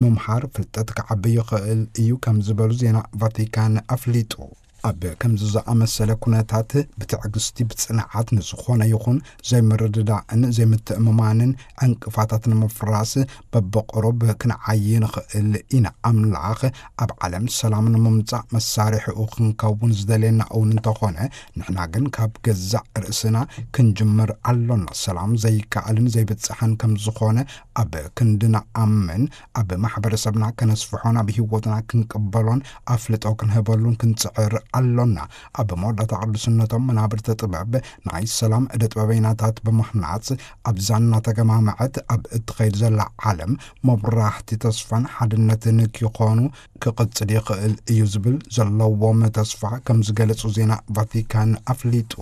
ምምሃር ፍልጠት ክዓቢ ይኽእል እዩ ከም ዝበሉ ዜና ቫቲካን ኣፍሊጡ። ኣብ ከምዚ ዝኣመሰለ ኩነታት ብትዕግስቲ፣ ብጽንዓት ንዝኾነ ይኹን ዘይምርድዳእን ዘይምትእምማንን ዕንቅፋታት ንምፍራስ በብቕሩብ ክንዓዪ ንኽእል ኢና። ኣምላኽ ኣብ ዓለም ሰላም ንምምጻእ መሳርሒኡ ክንከውን ዝደልየና እውን እንተኾነ፣ ንሕና ግን ካብ ገዛእ ርእስና ክንጅምር ኣሎና። ሰላም ዘይከኣልን ዘይብጽሕን ከም ዝኾነ ኣብ ክንዲ ንኣምን፣ ኣብ ማሕበረሰብና ከነስፍሖን ኣብ ህይወትና ክንቅበሎን ኣፍልጦ ክንህበሉን ክንጽዕር ኣሎና። ኣብ መወዳእታ ቅዱስነቶም መናብርቲ ጥበብ ናይ ሰላም እደ ጥበበይናታት ብምኽናጽ፣ ኣብዛ እናተገማመዐት ኣብ እትኸይድ ዘላ ዓለም መብራህቲ ተስፋን ሓድነትን ክኾኑ ክቕጽል ይኽእል እዩ ዝብል ዘለዎም ተስፋ ከም ዝገለጹ ዜና ቫቲካን ኣፍሊጡ።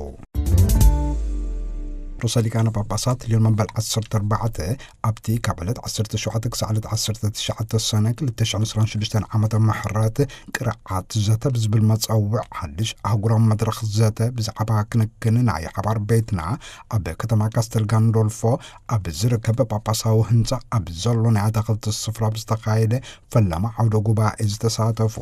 ርእሰ ሊቃነ ጳጳሳት ሊዮን መበል ዓሰርተ ኣርባዕተ ኣብቲ ካብ ዕለት ዓሰርተ ሸውዓተ ክሳዕ ዕለት ዓሰርተ ትሽዓተ ሰነ ክልተ ሽሕን ዕስራን ሽዱሽተን ዓመተ ምሕረት ቅርዓት ዘተ ብዝብል መጸውዕ ሓድሽ ኣህጉራዊ መድረኽ ዘተ ብዛዕባ ክንክን ናይ ሓባር ቤትና ኣብ ከተማ ካስተል ጋንዶልፎ ኣብ ዝርከብ ጳጳሳዊ ህንጻ ኣብ ዘሎ ናይ ኣታኽልቲ ስፍራ ብዝተኻየደ ፈለማ ዓውደ ጉባኤ ዝተሳተፉ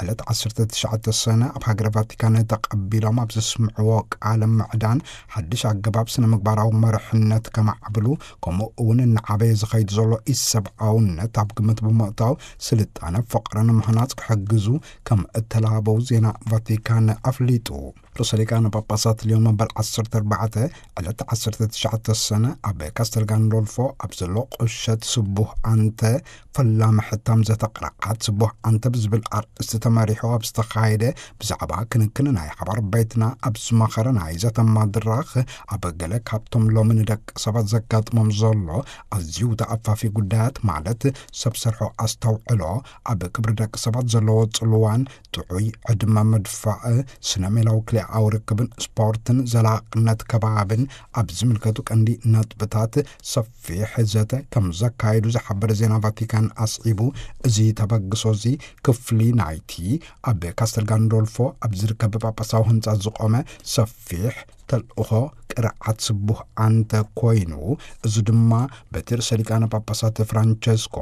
ዕለት ዓሰርተ ትሽዓተ ሰነ ኣብ ሃገረ ቫቲካን ተቐቢሎም ኣብ ዘስምዕዎ ቃለ ምዕዳን ሓድሽ ኣገባብ ስነ ምግባራዊ መርሕነት ከማዕብሉ፣ ከምኡ እውን እናዓበየ ዝኸይድ ዘሎ ኢሰብኣውነት ኣብ ግምት ብምእታው ስልጣነ ፍቕርን ምህናጽ ክሕግዙ ከም እተላበው ዜና ቫቲካን ኣፍሊጡ። ርእሰ ሊቃነ ጳጳሳት ሊዮን መበል ዓሰርተ ኣርባዕተ ዕለት ዓሰርተ ትሽዓተ ሰነ ኣብ ካስተል ጋንዶልፎ ኣብ ዘሎ ቁሸት ስቡህ ኣንተ ፈላሚ ሕታም ዘተ ቅርዓት ስቡህ ኣንተ ብዝብል ኣርእስቲ ተመሪሑ ኣብ ዝተኻየደ ብዛዕባ ክንክን ናይ ሓባር ቤትና ኣብ ዝመኸረ ናይ ዘተ መድረኽ፣ ኣብ ገለ ካብቶም ሎሚ ንደቂ ሰባት ዘጋጥሞም ዘሎ ኣዝዩ ተኣፋፊ ጉዳያት፣ ማለት ሰብ ሰርሖ ኣስተውዕሎ፣ ኣብ ክብሪ ደቂ ሰባት ዘለዎ ጽልዋን ጥዑይ ዕድመ ምድፋእ፣ ስነ ሜላዊ ክልኤኣዊ ርክብን ስፖርትን ዘላቕነት ከባብን ኣብ ዝምልከቱ ቀንዲ ነጥብታት ሰፊሕ ዘተ ከም ዘካየዱ ዝሓበረ ዜና ቫቲካን ኣስዒቡ፣ እዚ ተበግሶ እዚ ክፍሊ ናይቲ ኣብ ካስተል ጋንዶልፎ ኣብ ዝርከብ ጳጳሳዊ ህንጻ ዝቖመ ሰፊሕ ተልእኾ ቅርዓት ስቡህ ኣንተ ኮይኑ፣ እዚ ድማ በቲ ርእሰ ሊቃነ ጳጳሳት ፍራንቸስኮ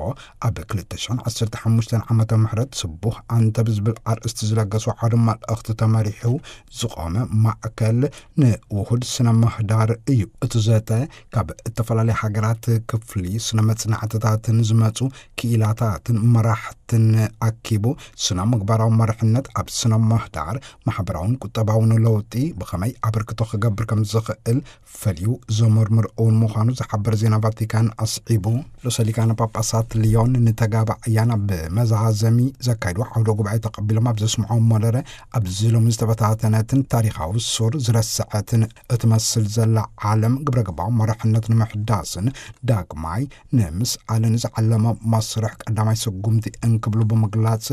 ኣብ ክልተ ሽሕን ዓሰርተ ሓሙሽተን ዓመተ ምሕረት ስቡህ ኣንተ ብዝብል ኣርእስቲ ዝለገሱ ሓደ መልእኽቲ ተመሪሑ ዝቖመ ማእከል ንውሁድ ስነ ምህዳር እዩ። እቲ ዘተ ካብ እተፈላለየ ሃገራት ክፍሊ ስነ መጽናዕትታትን ዝመጹ ክኢላታትን መራሕትን ኣኪቡ፣ ስነ ምግባራዊ መርሕነት ኣብ ስነ ምህዳር ማሕበራውን ቁጠባውን ለውጢ ብኸመይ ኣበርክቶ ክገብር ከም ዝኽእል ፈልዩ ዘመርምር እውን ምዃኑ ዝሓበር ዜና ቫቲካን ኣስዒቡ፣ ርእሰ ሊቃነ ጳጳሳት ሊዮን ንተጋባእያን ኣብ መዛዘሚ ዘካይድዎ ዓውደ ጉባኤ ተቐቢሎም ኣብ ዘስምዖም መደረ፣ ኣብዚ ሎሚ ዝተበታተነትን ታሪኻዊ ሱር ዝረሰዐትን እትመስል ዘላ ዓለም ግብረ ገባዊ መርሕነት ንምሕዳስን ዳግማይ ንምስኣልን ዝዓለመ መስርሕ ቀዳማይ ስጉምቲ እንክብሉ ብምግላጽ፣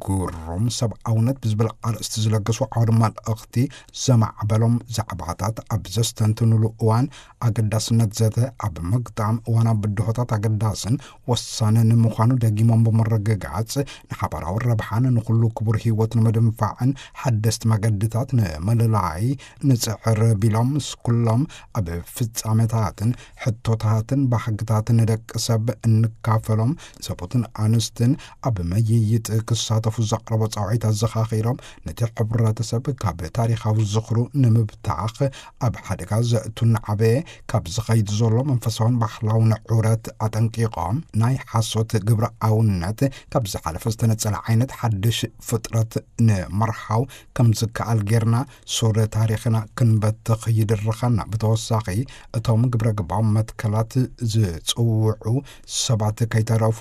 ግሩም ሰብኣውነት ብዝብል ኣርእስቲ ዝለገሱ ዓውደ መልእኽቲ ዘማዕበሎም ዛዕባታት ኣብ ዘስተንትኑሉ እዋን፣ ኣገዳስነት ዘተ ኣብ ምግጣም እዋናዊ ብድሆታት ኣገዳስን ወሳንን ምዃኑ ደጊሞም ብምርግጋጽ፣ ንሓባራዊ ረብሓን ንኹሉ ክቡር ህይወት ንምድንፋዕን ሓደስቲ መገድታት ንምልላይ ንጽዕር ቢሎም፣ ምስ ኩሎም ኣብ ፍጻሜታትን ሕቶታትን ባህግታትን ንደቂ ሰብ እንካፈሎም ሰብኡትን ኣንስትን ኣብ መይይጥ ክሳተፉ ዘቕረቦ ጻውዒት ኣዘኻኺሮም፣ ነቲ ሕብረተሰብ ካብ ታሪኻዊ ዝኽሩ ንምብታኽ ኣብ ሓደጋ ዘእቱን ዓበየ ካብ ዝኸይድ ዘሎ መንፈሳውን ባህላውን ዑረት ኣጠንቂቖም፣ ናይ ሓሶት ግብረ ኣውነት ካብ ዝሓለፈ ዝተነጸለ ዓይነት ሓድሽ ፍጥረት ንምርሓው ከም ዝከኣል ጌርና ሱር ታሪኽና ክንበትኽ ይድርኸና። ብተወሳኺ፣ እቶም ግብረ ገባዊ መትከላት ዝጽውዑ ሰባት ከይተረፉ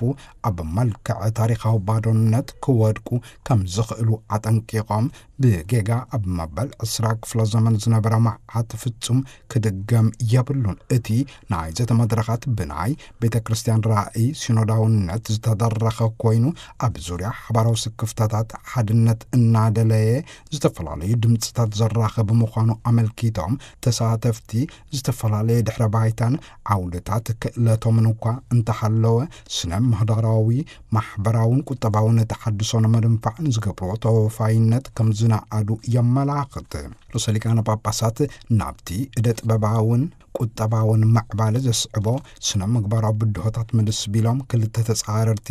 ኣብ መልክዕ ታሪኻዊ ባዶነት ክወድቁ ከም ዝኽእሉ ኣጠንቂቖም፣ ብጌጋ ኣብ መበል ዕስራ ክፍለ ዘመን ዝነበረ መዓት ፍጹም ክድገም የብሉን። እቲ ናይ ዘተ መድረኻት ብናይ ቤተ ክርስቲያን ራእይ ሲኖዳውነት ዝተደረኸ ኮይኑ፣ ኣብ ዙርያ ሓባራዊ ስክፍታታት ሓድነት እናደለየ ዝተፈላለዩ ድምፅታት ዘራኽብ ምዃኑ ኣመልኪቶም፣ ተሳተፍቲ ዝተፈላለየ ድሕረ ባይታን ዓውድታት ክእለቶምን እኳ እንተሃለወ፣ ስነ ምህዳራዊ፣ ማሕበራውን ቁጠባውን ተሓድሶ ንምድንፋዕ ንዝገብርዎ ተወፋይነት ከም ዝነኣዱ የመላኽት። ርእሰ ሊቃነ ጳጳሳት ናብቲ እደ ጥበባውን ቁጠባውን ምዕባለ ዘስዕቦ ስነ ምግባራዊ ብድሆታት ምልስ ቢሎም፣ ክልተ ተጻረርቲ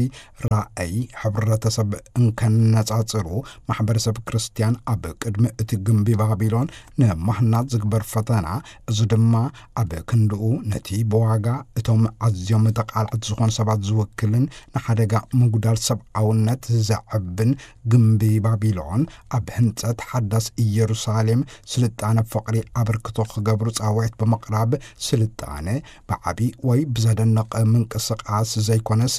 ራእይ ሕብረተሰብ እንከነጻጽሩ፣ ማሕበረሰብ ክርስትያን ኣብ ቅድሚ እቲ ግምቢ ባቢሎን ንምህናጽ ዝግበር ፈተና፣ እዚ ድማ ኣብ ክንድኡ ነቲ ብዋጋ እቶም ኣዝዮም ተቓልዕቲ ዝኾኑ ሰባት ዝውክልን ንሓደጋ ምጉዳል ሰብኣውነት ዘዕብን ግምቢ ባቢሎን፣ ኣብ ህንጸት ሓዳስ ኢየሩሳሌም ስልጣነ ፍቕሪ ኣበርክቶ ክገብሩ ጻውዒት ብምቕራብ፣ ስልጣነ ብዓቢ ወይ ብዘደንቕ ምንቅስቓስ ዘይኮነስ፣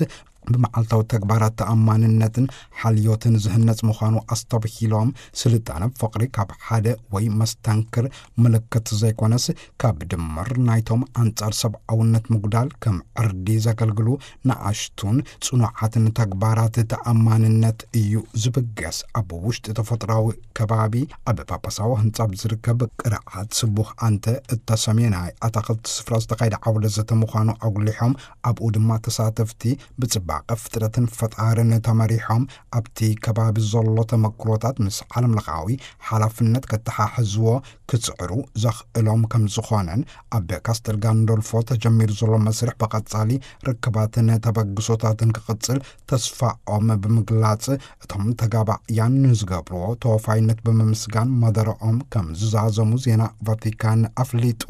ብመዓልታዊ ተግባራት ተኣማንነትን ሓልዮትን ዝህነጽ ምዃኑ ኣስተብሂሎም፣ ስልጣነ ፍቕሪ ካብ ሓደ ወይ መስተንክር ምልክት ዘይኮነስ፣ ካብ ድምር ናይቶም ኣንጻር ሰብኣውነት ምጉዳል ከም ዕርዲ ዘገልግሉ ንኣሽቱን ጽኑዓትን ተግባራት ተኣማንነት እዩ ዝብገስ። ኣብ ውሽጢ ተፈጥሮኣዊ ከባቢ፣ ኣብ ጳጳሳዊ ህንጻ ብዝርከብ ቅርዓት ስቡሕ ኣንተ እተሰምየ ናይ ኣታኽልቲ ስፍራ ዝተኻየደ ዓውደ ዘተ ምዃኑ ኣጉሊሖም፣ ኣብኡ ድማ ተሳተፍቲ ብጽባቐ ፍጥረትን ፈጣርን ተመሪሖም፣ ኣብቲ ከባቢ ዘሎ ተመክሮታት ምስ ዓለም ለኻዊ ሓላፍነት ከተሓሕዝዎ ክጽዕሩ ዘኽእሎም ከም ዝኾነን፣ ኣብ ካስተል ጋንዶልፎ ተጀሚሩ ዘሎ መስርሕ ብቐጻሊ ርክባትን ተበግሶታትን ክቕጽል ተስፋኦም ብምግላጽ፣ እቶም ተጋባእያን ንዝገብርዎ ተወፋይነት ብምምስጋን፣ ማደረኦም ከም ዝዛዘሙ ዜና ቫቲካን ኣፍሊጡ።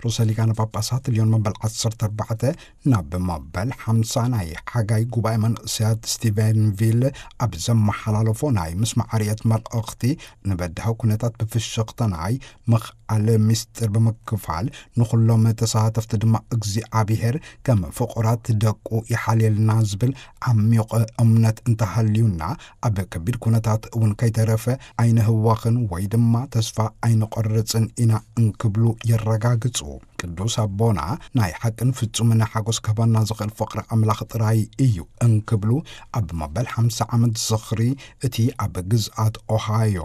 ርእሰ ሊቃነ ጳጳሳት ልዮን መበል ዓሰርተ ኣርባዕተ ናብ መበል ሓምሳ ናይ ሓጋይ ጉባኤ መንእሰያት ስቲቨንቪል ኣብ ዘመሓላለፎ ናይ ምስማዕ ርእየት መልእኽቲ፣ ንበዳሂ ኩነታት ብፍሽኽታ ናይ ምኽኣል ምስጢር ብምክፋል፣ ንኹሎም ተሳተፍቲ ድማ እግዚኣብሔር ከም ፍቑራት ደቁ ይሓልየልና ዝብል ዓሚቕ እምነት እንተሃልዩና፣ ኣብ ከቢድ ኩነታት እውን ከይተረፈ ኣይንህወኽን ወይ ድማ ተስፋ ኣይንቆርጽን ኢና እንክብሉ የረጋግጹ። ቅዱስ ኣቦና ናይ ሓቅን ፍጹምን ሓጎስ ክህበና ዝኽእል ፍቕሪ ኣምላኽ ጥራይ እዩ እንክብሉ፣ ኣብ መበል ሓምሳ ዓመት ዝኽሪ እቲ ኣብ ግዝኣት ኦሃዮ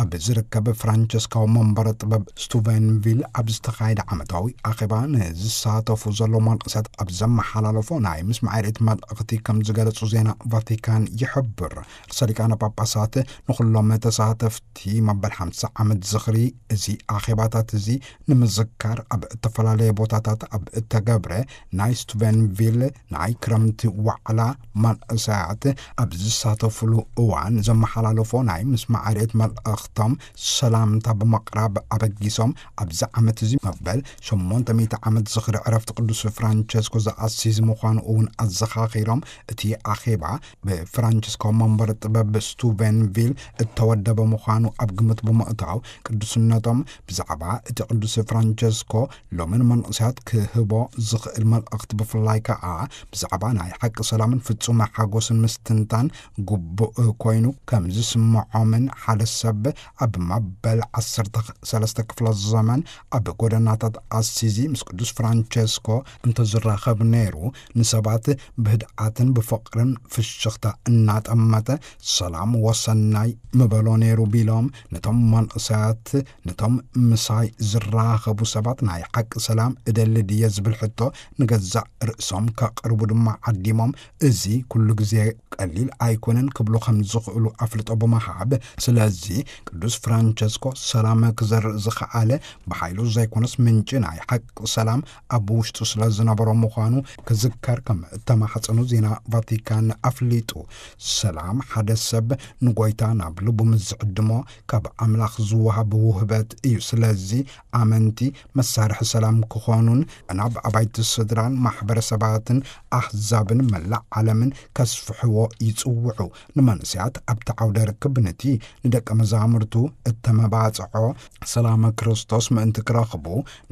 ኣብ ዝርከብ ፍራንቸስካዊ መንበረ ጥበብ ስቱቨንቪል ኣብ ዝተኻየደ ዓመታዊ ኣኼባ ንዝሳተፉ ዘለዉ መንእሰያት ኣብ ዘመሓላለፎ ናይ ምስማዕ ርእየት መልእኽቲ ከም ዝገለጹ ዜና ቫቲካን ይሕብር። ርእሰ ሊቃነ ጳጳሳት ንኹሎም ተሳተፍቲ መበል ሓምሳ ዓመት ዝኽሪ እዚ ኣኼባታት እዚ ንምዝካር ኣብ እተፈላለየ ቦታታት ኣብ እተገብረ ናይ ስቱቨንቪል ናይ ክረምቲ ዋዕላ መንእሰያት ኣብ ዝሳተፉሉ እዋን ዘመሓላለፎ ናይ ምስማዕ ርእየት መልእኽቶም ሰላምታ ብምቕራብ ኣበጊሶም፣ ኣብዚ ዓመት እዚ መበል ሸሞንተ ሚእቲ ዓመት ዝኽሪ ዕረፍቲ ቅዱስ ፍራንቸስኮ ዘኣሲዝ ምዃኑ እውን ኣዘኻኺሮም፣ እቲ ኣኼባ ብፍራንቸስኮ መንበረ ጥበብ ስቱቨንቪል እተወደበ ምዃኑ ኣብ ግምት ብምእታው፣ ቅዱስነቶም ብዛዕባ እቲ ቅዱስ ፍራንቸስኮ ሎሚ ንመንእሰያት ክህቦ ዝኽእል መልእኽቲ፣ ብፍላይ ከኣ ብዛዕባ ናይ ሓቂ ሰላምን ፍጹም ሓጎስን ምስትንታን ግቡእ ኮይኑ ከም ዝስምዖምን፣ ሓደ ሰብ ኣብ መበል ዓሰርተ ሰለስተ ክፍለ ዘመን ኣብ ጎደናታት ኣሲዚ ምስ ቅዱስ ፍራንቸስኮ እንተዝራኸብ ነይሩ፣ ንሰባት ብህድኣትን ብፍቕርን ፍሽኽታ እናጠመተ፣ "ሰላም ወሰናይ" ምበሎ ነይሩ ቢሎም፣ ነቶም መንእሰያት፣ ነቶም ምሳይ ዝራኸቡ ሰባት ናይ ሓቂ ሰላም እደሊ ድየ ዝብል ሕቶ ንገዛእ ርእሶም ከቕርቡ ድማ ዓዲሞም፣ እዚ ኩሉ ግዜ ቀሊል ኣይኮነን ክብሉ ከም ዝኽእሉ ኣፍልጦ ብምሃብ፣ ስለዚ ቅዱስ ፍራንቸስኮ ሰላም ክዘርእ ዝኸኣለ ብሓይሉ ዘይኮነስ ምንጪ ናይ ሓቂ ሰላም ኣብ ውሽጡ ስለ ዝነበሮ ምዃኑ ክዝከር ከም እተማሕጸኑ ዜና ቫቲካን ኣፍሊጡ። ሰላም ሓደ ሰብ ንጎይታ ናብ ልቡ ምስ ዝዕድሞ ካብ ኣምላኽ ዝወሃብ ውህበት እዩ። ስለዚ ኣመንቲ መሳርሒ ሰላም ክኾኑን ናብ ኣባይቲ ስድራን ማሕበረሰባትን ኣህዛብን መላእ ዓለምን ከስፍሕዎ ይጽውዑ። ንመንእሰያት ኣብቲ ዓውደ ርክብ ነቲ ንደቀ መዛሙርቱ እተመባጽዖ ሰላመ ክርስቶስ ምእንቲ ክረኽቡ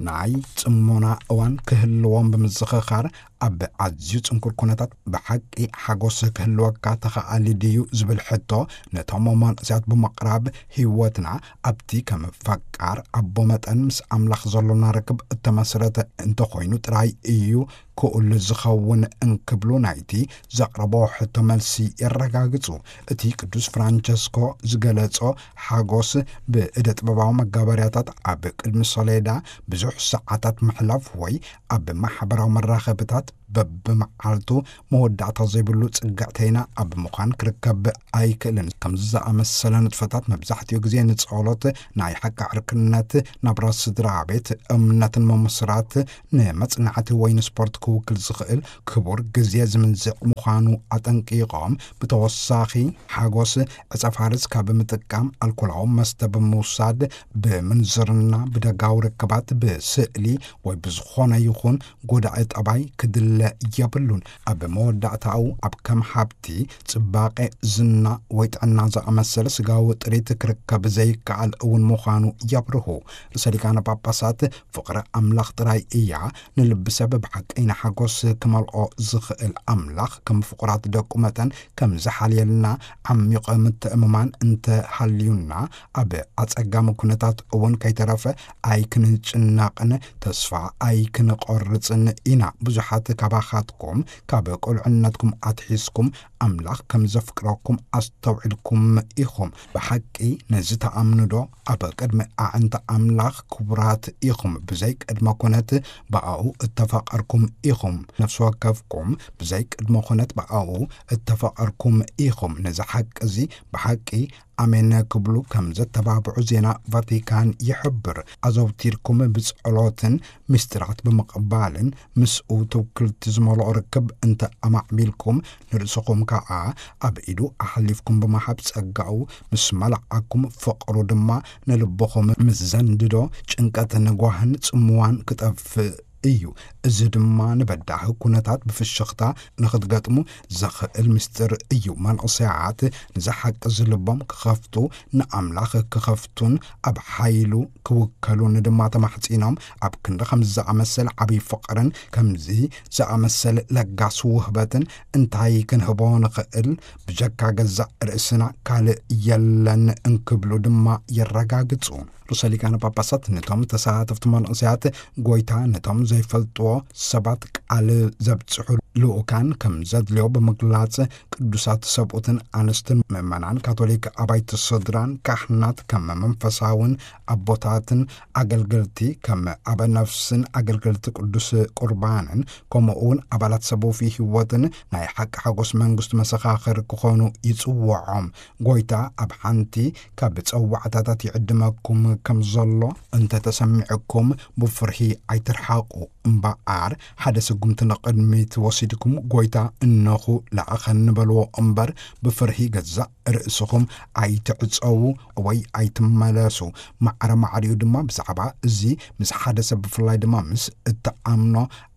ናይ ጽሞና እዋን ክህልዎም ብምዝኽኻር፣ ኣብ ኣዝዩ ጽንኩር ኩነታት ብሓቂ ሓጎስ ክህልወካ ተኸኣሊ ድዩ ዝብል ሕቶ ነቶም መንእሰያት ብምቕራብ፣ ህይወትና ኣብቲ ከም ፈቃር ኣቦ መጠን ምስ ኣምላኽ ዘሎና ርክብ እተመስረተ እንተኾይኑ ጥራይ እዩ ክኡል ዝኸውን እንክብሉ ናይቲ ዘቕረቦ ሕቶ መልሲ የረጋግጹ። እቲ ቅዱስ ፍራንቸስኮ ዝገለጾ ሓጎስ ብእደ ጥበባዊ መጋበርያታት ኣብ ቅድሚ ሰሌዳ ብዙሕ ሰዓታት ምሕላፍ ወይ ኣብ ማሕበራዊ መራኸብታት በብመዓልቱ መወዳእታ ዘይብሉ ጽግዕተይና ኣብ ምዃን ክርከብ ኣይክእልን። ከምዚ ዝኣመሰለ ንጥፈታት መብዛሕትኡ ግዜ ንጸሎት፣ ናይ ሓቂ ዕርክነት፣ ናብራ ስድራ ቤት፣ እምነትን ምምስራት፣ ንመጽናዕቲ ወይ ንስፖርት ክውክል ዝኽእል ክቡር ግዜ ዝምንዝዕ ምዃኑ ኣጠንቂቖም፣ ብተወሳኺ ሓጎስ ዕጸ ፋርስ ካብ ምጥቃም፣ ኣልኮላዊ መስተ ብምውሳድ፣ ብምንዝርና፣ ብደጋዊ ርክባት፣ ብስእሊ ወይ ብዝኾነ ይኹን ጎዳኢ ጠባይ ክድለ የብሉን። ኣብ መወዳእታኡ ኣብ ከም ሃብቲ፣ ጽባቐ፣ ዝና ወይ ጥዕና ዝኣመሰለ ስጋዊ ጥሪት ክርከብ ዘይከኣል እውን ምዃኑ የብርሁ። ርእሰ ሊቃነ ጳጳሳት ፍቕሪ ኣምላኽ ጥራይ እያ ንልቢ ሰብ ብሓቀይና ሓጎስ ክመልኦ ዝኽእል። ኣምላኽ ከም ፍቑራት ደቁ መጠን ከም ዝሓልየልና ዓሚቕ ምትእምማን እንተ ሃልዩና፣ ኣብ ኣጸጋሚ ኩነታት እውን ከይተረፈ ኣይክንጭነቕን ተስፋ ኣይክንቆርጽን ኢና። ብዙሓት ካባኻትኩም ካብ ቁልዕነትኩም ኣትሒዝኩም ኣምላኽ ከም ዘፍቅረኩም ኣስተውዒልኩም ኢኹም። ብሓቂ ነዚ ተኣምኑ ዶ? ኣብ ቅድሚ ኣዕንቲ ኣምላኽ ክቡራት ኢኹም። ብዘይ ቅድመ ኩነት ብኣኡ እተፋቐርኩም ኢኹም። ነፍሲ ወከፍኩም ብዘይ ቅድመ ኩነት ብኣኡ እተፋቐርኩም ኢኹም። ነዚ ሓቂ እዚ ብሓቂ ኣሜን ክብሉ ከም ዘተባብዑ ዜና ቫቲካን ይሕብር። ኣዘውቲርኩም ብጸሎትን ምስጢራት ብምቕባልን ምስኡ ትውክልቲ ዝመልኦ ርክብ እንተ ኣማዕቢልኩም፣ ንርእስኹም ከኣ ኣብ ኢዱ ኣሕሊፍኩም ብምሃብ፣ ጸጋኡ ምስ መላኣኩም፣ ፍቕሩ ድማ ንልብኹም ምስ ዘንድዶ፣ ጭንቀትን ጓህን ጽምዋን ክጠፍእ እዩ። እዚ ድማ ንበዳሂ ኩነታት ብፍሽኽታ ንኽትገጥሙ ዘኽእል ምስጢር እዩ። መንእሰያት ንዚ ሓቂ እዚ ልቦም ክኸፍቱ፣ ንኣምላኽ ክኸፍቱን ኣብ ሓይሉ ክውከሉን ድማ ተማሕጺኖም፣ ኣብ ክንዲ ከምዚ ዝኣመሰለ ዓብዪ ፍቕርን ከምዚ ዝኣመሰለ ለጋስ ውህበትን እንታይ ክንህቦ ንኽእል? ብጀካ ገዛእ ርእስና ካልእ የለን እንክብሉ ድማ የረጋግጹ። ርእሰ ሊቃነ ጳጳሳት ነቶም ተሳተፍቲ መንእሰያት፣ ጎይታ ነቶም ዘይፈልጥዎ ሰባት ቃል ዘብጽሑ ልኡካን ከም ዘድልዮ ብምግላጽ፣ ቅዱሳት ሰብኡትን ኣንስትን ምእመናን ካቶሊክ ኣባይቲ ስድራን ካህናት ከም መንፈሳውን ኣቦታትን ኣገልገልቲ ከም ኣበ ነፍስን ኣገልገልቲ ቅዱስ ቁርባንን፣ ከምኡ እውን ኣባላት ሰብ ወፍይ ህይወትን ናይ ሓቂ ሓጎስ መንግስቱ መሰኻኽር ክኾኑ ይጽውዖም። ጎይታ ኣብ ሓንቲ ካብ ጸዋዕታታት ይዕድመኩም ከም ዘሎ እንተ ተሰሚዕኩም፣ ብፍርሂ ኣይትርሓቑ። እምበኣር፣ ሓደ ስጉምቲ ንቕድሚት ወሲድኩም፣ ጎይታ እነኹ ለኣኸኒ በልዎ እምበር፣ ብፍርሂ ገዛእ ርእስኹም ኣይትዕጸዉ ወይ ኣይትመለሱ። ማዕረ ማዕሪኡ ድማ ብዛዕባ እዚ ምስ ሓደ ሰብ፣ ብፍላይ ድማ ምስ እትኣምኖ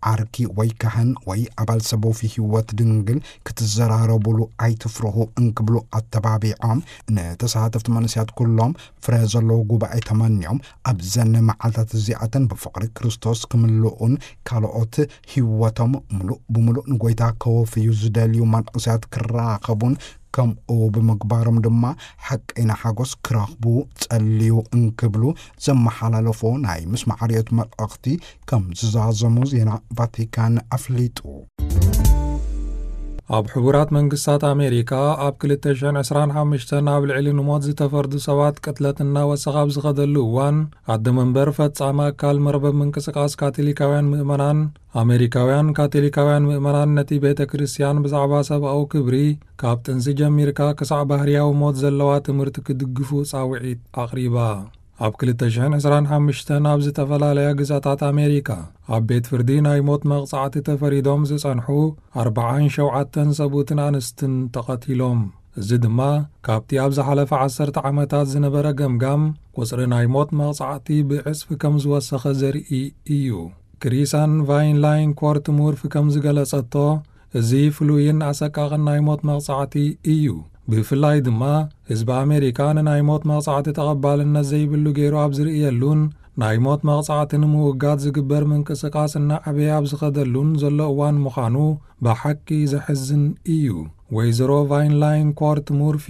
ዓርኪ ወይ ካህን ወይ ኣባል ሰብ ወፍይ ህይወት ድንግል ክትዘራረቡሉ ኣይትፍርሁ እንክብሉ ኣተባቢዖም፣ ንተሳተፍቲ መንእሰያት ኩሎም ፍረ ዘለዎ ጉባኤ ተመንዮም፣ ኣብዘን መዓልታት እዚኣተን ብፍቕሪ ክርስቶስ ክምልኡን ካልኦት ህይወቶም ምሉእ ብምሉእ ንጎይታ ከወፍዩ ዝደልዩ መንእሰያት ክራኸቡን፣ ከምኡ ብምግባሮም ድማ ሓቀይና ሓጎስ ክረኽቡ ጸልዩ እንክብሉ ዘመሓላለፎ ናይ ምስማዕ ርዮት መልእኽቲ ከም ዝዛዘሙ ዜና ቫቲካን ኣፍሊጡ። ኣብ ሕቡራት መንግስታት ኣሜሪካ ኣብ ክልተ ሽሕን ዕስራን ሓሙሽተን ኣብ ልዕሊ ንሞት ዝተፈርዱ ሰባት ቅትለት እናወሰኸ ኣብ ዝኸደሉ እዋን፣ ኣደ መንበር ፈጻሚ ኣካል መርበብ ምንቅስቃስ ካቶሊካውያን ምእመናን፣ ኣሜሪካውያን ካቶሊካውያን ምእመናን ነቲ ቤተ ክርስቲያን ብዛዕባ ሰብኣዊ ክብሪ፣ ካብ ጥንሲ ጀሚርካ ክሳዕ ባህርያዊ ሞት ዘለዋ ትምህርቲ ክድግፉ ጻውዒት ኣቕሪባ። ኣብ ክልተ ሽሕን ዕስራን ሓሙሽተን ኣብ ዝተፈላለያ ግዛታት ኣሜሪካ ኣብ ቤት ፍርዲ ናይ ሞት መቕጻዕቲ ተፈሪዶም ዝጸንሑ ኣርብዓን ሸውዓተን ሰብኡትን ኣንስትን ተቐቲሎም። እዚ ድማ ካብቲ ኣብ ዝሓለፈ ዓሰርተ ዓመታት ዝነበረ ገምጋም፣ ቁጽሪ ናይ ሞት መቕጻዕቲ ብዕጽፊ ከም ዝወሰኸ ዘርኢ እዩ። ክሪሳን ቫይንላይን ኮርት ሙርፊ ከም ዝገለጸቶ፣ እዚ ፍሉይን ኣሰቃቕን ናይ ሞት መቕጻዕቲ እዩ። ብፍላይ ድማ ህዝቢ ኣሜሪካ ንናይ ሞት መቕጻዕቲ ተቐባልነት ዘይብሉ ገይሩ ኣብ ዝርእየሉን ናይ ሞት መቕጻዕቲ ንምውጋድ ዝግበር ምንቅስቃስ እናዓበየ ኣብ ዝኸደሉን ዘሎ እዋን ምዃኑ ብሓቂ ዘሕዝን እዩ። ወይዘሮ ቫይንላይን ኮርት ሙርፊ፣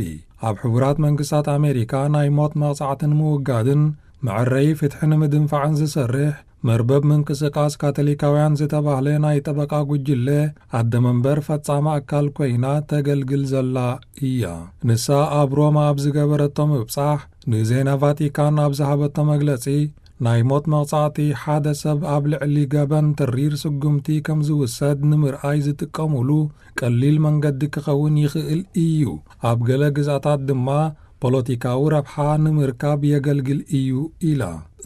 ኣብ ሕቡራት መንግስታት ኣሜሪካ ናይ ሞት መቕጻዕቲ ንምውጋድን መዕረዪ ፍትሒ ንምድንፋዕን ዝሰርሕ መርበብ ምንቅስቃስ ካቶሊካውያን ዝተባህለ ናይ ጠበቃ ጉጅለ ኣደ መንበር ፈጻሚ ኣካል ኮይና ተገልግል ዘላ እያ። ንሳ ኣብ ሮማ ኣብ ዝገበረቶ ምብጻሕ፣ ንዜና ቫቲካን ኣብ ዝሃበቶ መግለጺ፣ ናይ ሞት መቕጻዕቲ ሓደ ሰብ ኣብ ልዕሊ ገበን ተሪር ስጉምቲ ከም ዝውሰድ ንምርኣይ ዝጥቀሙሉ ቀሊል መንገዲ ክኸውን ይኽእል እዩ። ኣብ ገለ ግዝኣታት ድማ ፖለቲካዊ ረብሓ ንምርካብ የገልግል እዩ ኢላ።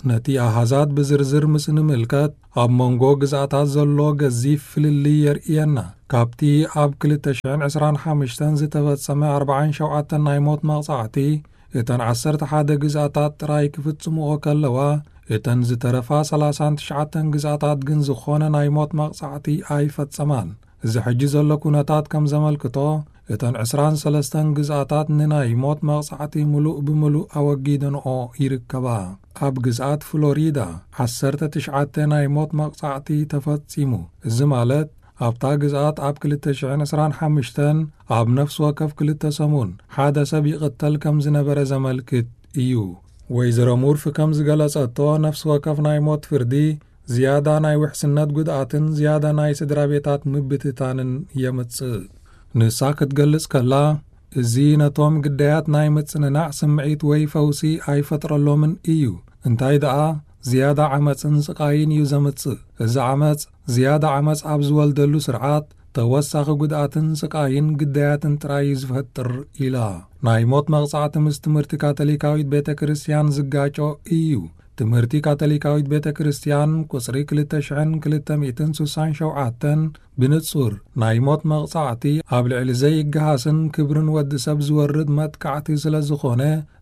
ነቲ ኣሃዛት ብዝርዝር ምስ ንምልከት፣ ኣብ መንጎ ግዝኣታት ዘሎ ገዚፍ ፍልልይ የርእየና። ካብቲ ኣብ ክልተ ሽሕን ዕስራን ሓሙሽተን ዝተፈጸመ ኣርባዓን ሸውዓተን ናይ ሞት መቕጻዕቲ፣ እተን ዓሰርተ ሓደ ግዝኣታት ጥራይ ክፍጽምኦ ከለዋ፣ እተን ዝተረፋ ሰላሳን ትሽዓተን ግዝኣታት ግን ዝኾነ ናይ ሞት መቕጻዕቲ ኣይፈጸማን። እዚ ሕጂ ዘሎ ኩነታት ከም ዘመልክቶ፣ እተን ዕስራን ሰለስተን ግዝኣታት ንናይ ሞት መቕጻዕቲ ምሉእ ብምሉእ ኣወጊደንኦ ይርከባ። ኣብ ግዝኣት ፍሎሪዳ ዓሰርተ ትሽዓተ ናይ ሞት መቕጻዕቲ ተፈጺሙ። እዚ ማለት፣ ኣብታ ግዝኣት ኣብ ክልተ ሽሕን ዕስራን ሓሙሽተን ኣብ ነፍሲ ወከፍ ክልተ ሰሙን ሓደ ሰብ ይቕተል ከም ዝነበረ ዘመልክት እዩ። ወይዘሮ ሙርፊ ከም ዝገለጸቶ፣ ነፍሲ ወከፍ ናይ ሞት ፍርዲ ዝያዳ ናይ ውሕስነት ጉድኣትን ዝያዳ ናይ ስድራ ቤታት ምብትታንን የምጽእ። ንሳ ክትገልጽ ከላ፣ እዚ ነቶም ግዳያት ናይ ምጽንናዕ ስምዒት ወይ ፈውሲ ኣይፈጥረሎምን እዩ። እንታይ ደኣ፣ ዝያዳ ዓመጽን ስቓይን እዩ ዘምጽእ። እዚ ዓመጽ፣ ዝያዳ ዓመጽ ኣብ ዝወልደሉ ስርዓት፣ ተወሳኺ ጉድኣትን ስቓይን ግዳያትን ጥራይ እዩ ዝፈጥር ኢላ። ናይ ሞት መቕጻዕቲ ምስ ትምህርቲ ካቶሊካዊት ቤተ ክርስቲያን ዝጋጮ እዩ። ትምህርቲ ካቶሊካዊት ቤተ ክርስቲያን ቁጽሪ ክልተ ሽሕን ክልተ ሚእትን ስሳን ሸውዓተን ብንጹር ናይ ሞት መቕጻዕቲ ኣብ ልዕሊ ዘይገሃስን ክብርን ወዲ ሰብ ዝወርድ መጥቃዕቲ ስለ ዝኾነ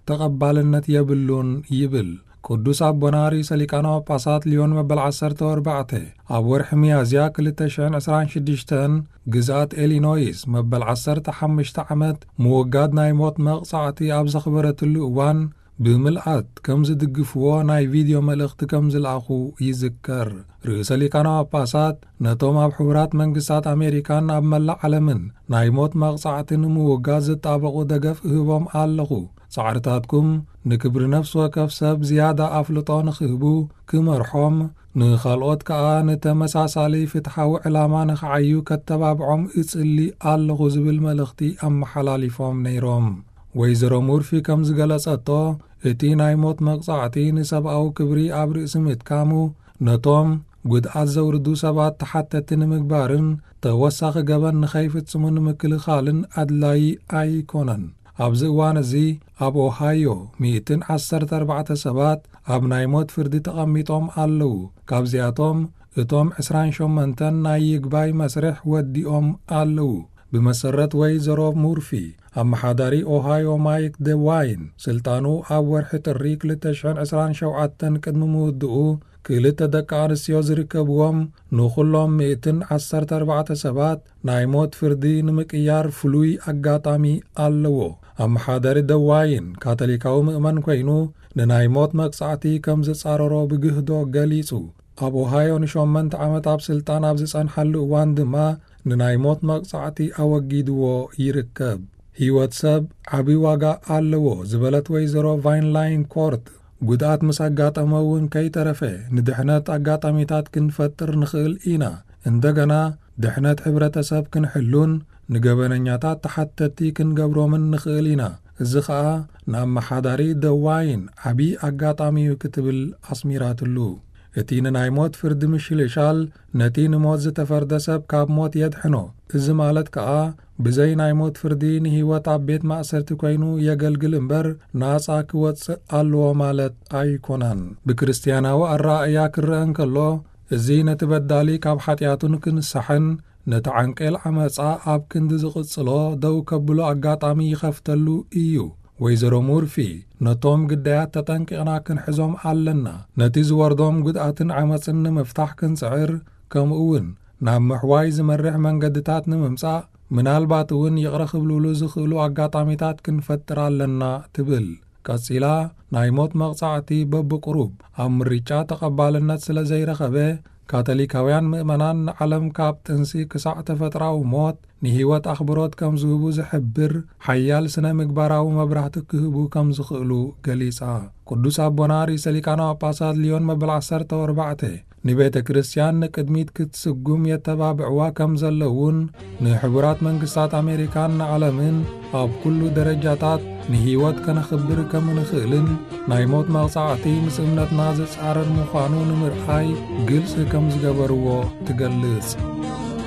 ተቐባልነት የብሉን ይብል። ቅዱስ ኣቦና ርእሰ ሊቃነ ጳጳሳት ሊዮን መበል ዓሰርተ ኣርባዕተ ኣብ ወርሒ ሚያዝያ ክልተ ሽሕን ዕስራን ሽዱሽተን ግዝኣት ኢሊኖይስ መበል ዓሰርተ ሓሙሽተ ዓመት ምውጋድ ናይ ሞት መቕጻዕቲ ኣብ ዘኽበረትሉ እዋን ብምልኣት ከም ዝድግፍዎ ናይ ቪድዮ መልእኽቲ ከም ዝለኣኹ ይዝከር። ርእሰ ሊቃነ ጳጳሳት ነቶም ኣብ ሕቡራት መንግስታት ኣሜሪካን ኣብ መላእ ዓለምን ናይ ሞት መቕጻዕቲ ንምውጋድ ዝጣበቑ ደገፍ እህቦም ኣለኹ። ጻዕርታትኩም ንክብሪ ነፍሲ ወከፍ ሰብ ዝያዳ ኣፍልጦ ንኽህቡ ክመርሖም፣ ንኻልኦት ከኣ ንተመሳሳሊ ፍትሓዊ ዕላማ ንኽዓዩ ከተባብዖም እጽሊ ኣለኹ ዝብል መልእኽቲ ኣመሓላሊፎም ነይሮም። ወይዘሮ ሙርፊ ከም ዝገለጸቶ፣ እቲ ናይ ሞት መቕጻዕቲ ንሰብኣዊ ክብሪ ኣብ ርእሲ ምትካሙ፣ ነቶም ጉድኣት ዘውርዱ ሰባት ተሓተቲ ንምግባርን ተወሳኺ ገበን ንኸይፍጽሙ ንምክልኻልን ኣድላዪ ኣይኮነን። ኣብዚ እዋን እዚ ኣብ ኦሃዮ ሚእትን ዓሰርተ ኣርባዕተ ሰባት ኣብ ናይ ሞት ፍርዲ ተቐሚጦም ኣለዉ። ካብዚኣቶም እቶም ዕስራን ሸሞንተን ናይ ይግባይ መስርሕ ወዲኦም ኣለዉ። ብመሰረት ወይዘሮ ሙርፊ፣ ኣመሓዳሪ ኦሃዮ ማይክ ደዋይን ስልጣኑ ኣብ ወርሒ ጥሪ ክልተ ሽሕን ዕስራን ሸውዓተን ቅድሚ ምውድኡ፣ ክልተ ደቂ ኣንስትዮ ዝርከብዎም ንኹሎም ሚእትን ዓሰርተ ኣርባዕተ ሰባት ናይ ሞት ፍርዲ ንምቅያር ፍሉይ ኣጋጣሚ ኣለዎ። ኣመሓዳሪ ደዋይን ካቶሊካዊ ምእመን ኮይኑ፣ ንናይ ሞት መቅጻዕቲ ከም ዝጻረሮ ብግህዶ ገሊጹ። ኣብ ኦሃዮ ንሸሞንተ ዓመት ኣብ ስልጣን ኣብ ዝጸንሓሉ እዋን ድማ ንናይ ሞት መቅጻዕቲ ኣወጊድዎ ይርከብ። ህይወት ሰብ ዓቢ ዋጋ ኣለዎ ዝበለት ወይዘሮ ቫይንላይን ኮርት፣ ጉድኣት ምስ ኣጋጠመ እውን ከይተረፈ ንድሕነት ኣጋጣሚታት ክንፈጥር ንኽእል ኢና። እንደገና ድሕነት ሕብረተሰብ ክንሕሉን ንገበነኛታት ተሓተቲ ክንገብሮምን ንኽእል ኢና። እዚ ኸኣ ንኣመሓዳሪ ደዋይን ዓቢ ኣጋጣሚ እዩ ክትብል ኣስሚራትሉ። እቲ ንናይ ሞት ፍርዲ ምሽልሻል ነቲ ንሞት ዝተፈርደ ሰብ ካብ ሞት የድሕኖ። እዚ ማለት ከኣ ብዘይ ናይ ሞት ፍርዲ ንህይወት ኣብ ቤት ማእሰርቲ ኮይኑ የገልግል እምበር ናጻ ክወጽእ ኣለዎ ማለት ኣይኮነን። ብክርስትያናዊ ኣረኣእያ ክረአ እንከሎ፣ እዚ ነቲ በዳሊ ካብ ሓጢኣቱ ንክንሳሕን ነቲ ዓንቄል ዓመጻ ኣብ ክንዲ ዝቕጽሎ ደው ከብሎ ኣጋጣሚ ይኸፍተሉ እዩ። ወይዘሮ ሙርፊ፣ ነቶም ግዳያት ተጠንቂቕና ክንሕዞም ኣለና። ነቲ ዝወርዶም ጉድኣትን ዓመጽን ንምፍታሕ ክንጽዕር፣ ከምኡ እውን ናብ ምሕዋይ ዝመርሕ መንገድታት ንምምጻእ፣ ምናልባት እውን ይቕረ ክብልሉ ዝኽእሉ ኣጋጣሚታት ክንፈጥር ኣለና ትብል። ቀጺላ፣ ናይ ሞት መቕጻዕቲ በብቁሩብ ኣብ ምርጫ ተቐባልነት ስለ ዘይረኸበ፣ ካቶሊካውያን ምእመናን ንዓለም ካብ ጥንሲ ክሳዕ ተፈጥራዊ ሞት ንህይወት ኣኽብሮት ከም ዝህቡ ዝሕብር ሓያል ስነ ምግባራዊ መብራህቲ ክህቡ ከም ዝኽእሉ ገሊጻ። ቅዱስ ኣቦና ርእሰ ሊቃነ ጳጳሳት ሊዮን መበል ዓሰርተ ኣርባዕተ ንቤተ ክርስቲያን ንቅድሚት ክትስጉም የተባብዕዋ ከም ዘለውን፣ ንሕቡራት መንግስታት ኣሜሪካን ንዓለምን ኣብ ኩሉ ደረጃታት ንህይወት ከነኽብር ከም ንኽእልን፣ ናይ ሞት መቕጻዕቲ ምስ እምነትና ዝጻረር ምዃኑ ንምርኣይ ግልጺ ከም ዝገበርዎ ትገልጽ።